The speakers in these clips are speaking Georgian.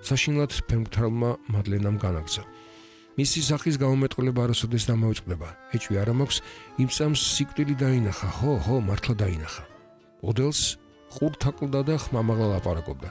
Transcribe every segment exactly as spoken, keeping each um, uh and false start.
საშინლად ფერმფრთალმა მადლენამ განაგრძო. მისი სახის გამომეტყველება არასოდეს დამოიწყდება. ეჭვი არ მაქვს, იმ წამს სიკვდილი დაინახა, ხო, ხო, მართლა დაინახა. ოდელს ყურთ აკლდა და ხმამაღლა ლაპარაკობდა.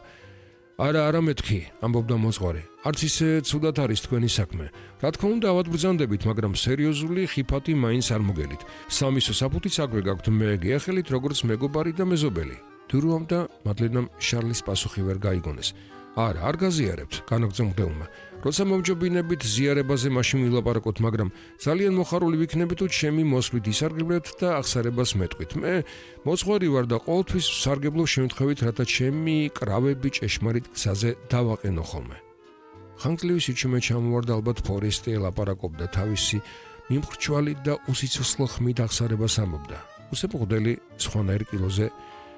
არა, არა მეთქი, ამბობდა მოძღვარი. არც ისე ცუდად არის თქვენი საქმე. რა თქმა უნდა, ავადბრძანდებით, მაგრამ სერიოზული ხიფათი მაინც არ მოგელით. სამისო საფუთიც აგვე გაქვთ, მე გიახელით როგორც მეგობარი და მეზობელი. დურუამ და მადლენამ შარლის პასუხი ვერ გაიგონეს. არა, არ გაზიარებთ, განაგრძო მღვდელმა. როცა მომჯობინებით ზიარებაზე მაშინ ვილაპარაკოთ, მაგრამ ძალიან მოხარული ვიქნები თუ ჩემი მოსვლით ისარგებლეთ და აღსარებას მეტყვით. მე მოძღვარი ვარ და ყოველთვის ვსარგებლო შემთხვევით, რათა ჩემი კრავები ჭეშმარიტ გზაზე დავაყენო ხოლმე. ხანგრძლივი სიჩუმე ჩამოვარდა, ალბათ ფორესტი ელაპარაკობდა თავისი მიმხრჩვალი და უსიცოცხლო ხმით აღსარებას ამბობდა. უსებ მღვდელი სხვანაირ კილოზე,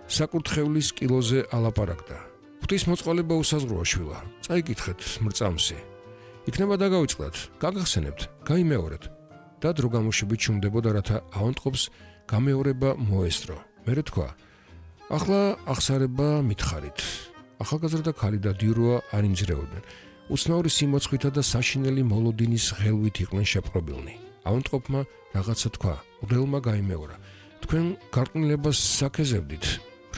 საკურთხევლის კილოზე ალაპარაკდა. ღვთისმოწყალება უსაზღვროა შვილა, წაიკითხეთ მრწამსი. იქნება დაგავიწყდათ, გაგახსენებთ, გაიმეორეთ. და დრო გამოშვებით ჩუმდებოდა, რათა ავანტყოფს გამეორება მოესწრო. მერე თქვა, ახლა აღსარება მითხარით. ახალგაზრდა ქალი და დიუროა არ იმძრეოდნენ. უცნაური სიმოცხვითა და საშინელი მოლოდინის ღელვით იყვნენ შეპყრობილნი. ავანტყოფმა რაღაცა თქვა, მღვდელმა გაიმეორა. თქვენ გარყვნილებას საქეზებდით,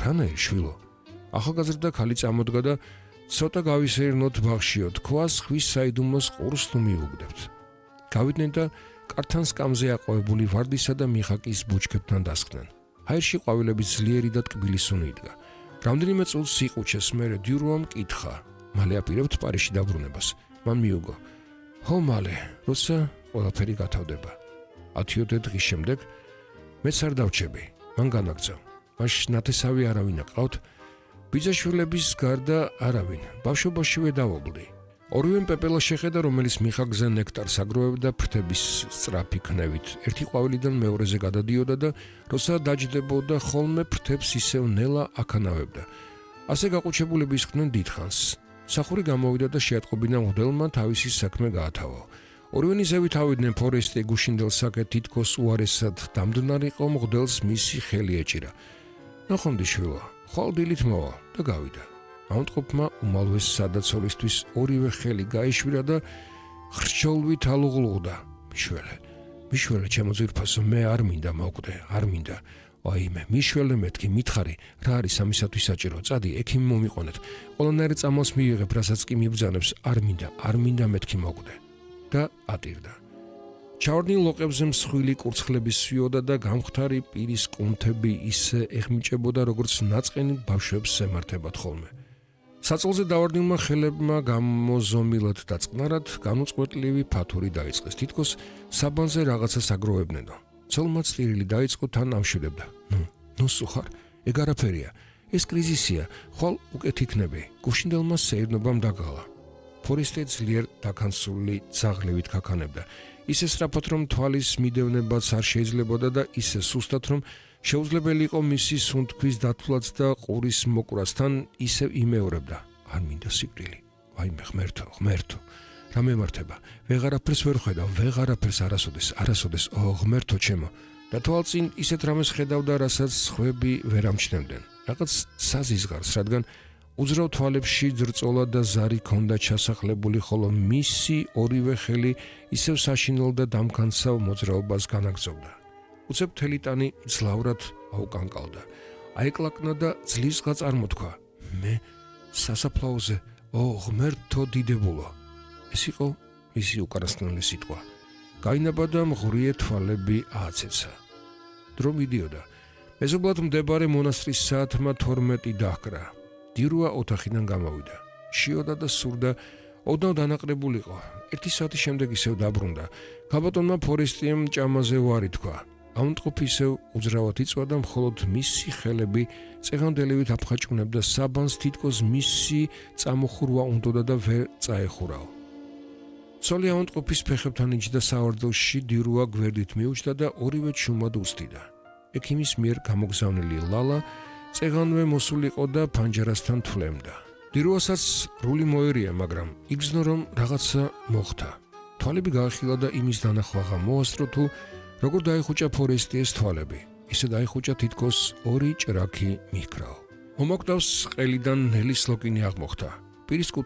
რანაირ შვილო? ახალგაზრდა ქალი წამოდგა და ცოტა გავისეირნოთ ბაღშიო, თქვას ხვის საიდუმლოს ყურს თუ მიუგდებთ. გავიდნენ და კართან სკამზე აყვავებული ვარდისა და მიხაკის ბუჩქებთან დასხდნენ. ჰაერში ყვავილების ძლიერი და ტკბილი სუნი იდგა. რამდენიმე წუთს იყუჩეს, მერე დიუროამ კითხა, მალე აპირებთ პარიზში დაბრუნებას. მან მიუგო. ხო, მალე, როცა ყველაფერი გათავდება. ათიოდე დღის შემდეგ მეც არ დავჩები. მან განაგრძო. მაშ ნათესავი არავინ აკყავთ. ბიძაშვილების გარდა არავინ, ბავშვობაშივე დავობლდი. ორივემ პეპელა შეხედა, რომელიც მიხაკზე ნექტარს აგროვებდა ფრთების სწრაფი ქნევით. ერთი ყვავილიდან მეორეზე გადადიოდა და როცა დაჯდებოდა, ხოლმე ფრთებს ისევ ნელა აქანავებდა. ასე გაყუჩებულები ისხდნენ დიდხანს. სახური გამოვიდა და შეატყობინა მღვდელმა თავისი საქმე გაათავო. ორივენი ზევით ავიდნენ ფორესტი გუშინდელსაკე თითქოს უარესად დამდნარიყო მღვდელს მისი ხელი ეჭირა. ნახონდი შვილო, ხვალ დილით მოვა და გავიდა. ავანტყოფმა უმალვეს სადაცოლისთვის ორივე ხელი გაიშვირა და ხრჩოლვით ალუღლუღდა. მიშველე, მიშველე ჩემო ძვირფასო, მე არ მინდა მოვკვდე, არ მინდა. ვაიმე, მიშველე მეთქი, მითხარი, რა არის ამისათვის საჭირო? წადი, ექიმი მომიყვანეთ. ყველანაირ წამალს მიიღებ, რასაც კი მიბრძანებს, არ მინდა, არ მინდა მეთქი მოვკვდე. და ატირდა. ჩავარდნილ ლოყებზე მსხვილი კურცხლები სვიოდა და გამხთარი პირის კუნთები ისე ეხმიჭებოდა, როგორც ნაწყენი ბავშვებს ემართებათ ხოლმე. საწოლზე დავარდნილმა ხელებმა გამოზომილად და წყნარად განუწყვეტლივი ფათური დაიწყეს. თითქოს საბანზე რაღაცას აგროვებნენო. ცოლმა წირილი დაიწყო, თან ამშვიდებდა. ნუ, ნუ სუხარ, ეგ არაფერია. ეს კრიზისია, ხვალ უკეთ იქნები. გუშინდელმა სეირნობამ დაგალა. ფორესტი ძლიერ დაქანსული ძაღლივით ქაქანებდა. ისე სწრაფად, რომ თვალის მიდევნებაც არ შეიძლებოდა და ისე სუსტად, რომ შეუძლებელი იყო მისი სუნთქვის დათვლაც და ყურის მოკვრასთან ისევ იმეორებდა. არ მინდა სიკვდილი. ვაიმე, ღმერთო, ღმერთო. რა მემართება? ვეღარაფერს ვერ ხედავ, ვეღარაფერს არასოდეს, არასოდეს, ო ღმერთო ჩემო. და თვალწინ ისეთ რამეს ხედავდა, რასაც სხვები ვერ ამჩნევდნენ. რაღაც საზიზღარს, რადგან უძრავ თვალებში ძრწოლა და ზარი ქონდა ჩასახლებული, ხოლო მისი ორივე ხელი ისევ საშინელ და დამქანცავ მოძრაობას განაგრძობდა. უცებ თელიტანი ძლავრად აუკანკალდა. აეკლაკნა და ძლივსღა წარმოთქვა. მე სასაფლაოზე, ო ღმერთო დიდებულო. ეს იყო მისი უკანასკნელი სიტყვა. გაინაბა და მღრიე თვალები ააცეცა. დრო მიდიოდა. მეზობლად მდებარე მონასტრის საათმა თორმეტი დაჰკრა. დიუროა ოთახიდან გამოვიდა. შიოდა და სურდა, ოდნავ დანაყრებულიყო. ერთი საათის შემდეგ ისევ დაბრუნდა. ქაბატონმა ფორესტიემ ჭამაზე უარი თქვა. ავანტყოფი ისევ უძრავად იწვა და მხოლოდ მისი ხელები წეღანდელივით აფხაჭუნებდა საბანს, თითქოს მისი წამოხურვა უნდოდა და ვერ წაეხურაო. ცოლი ავანტყოფის ფეხებთან იჯდა სავარძელში, დიუროა გვერდით მიუჯდა და ორივე ჩუმად უსტიდა. ექიმის მიერ გამოგზავნილი ლალა წეღანვე მოსულიყო და ფანჯარასთან თვლემდა. დიუროასაც რული მოერია, მაგრამ იგრძნო, რომ რაღაცა მოხდა. თვალები გაახილა და იმის დანახვაღა მოასწრო თუ როგორ დაიხუჭა ფორესტიეს თვალები. ისე დაიხუჭა, თითქოს ორი ჭრაქი მიჰქრაო. მომაკვდავს ყელიდან ნელის ლოკინი აღმოხდა. პირის კუთხე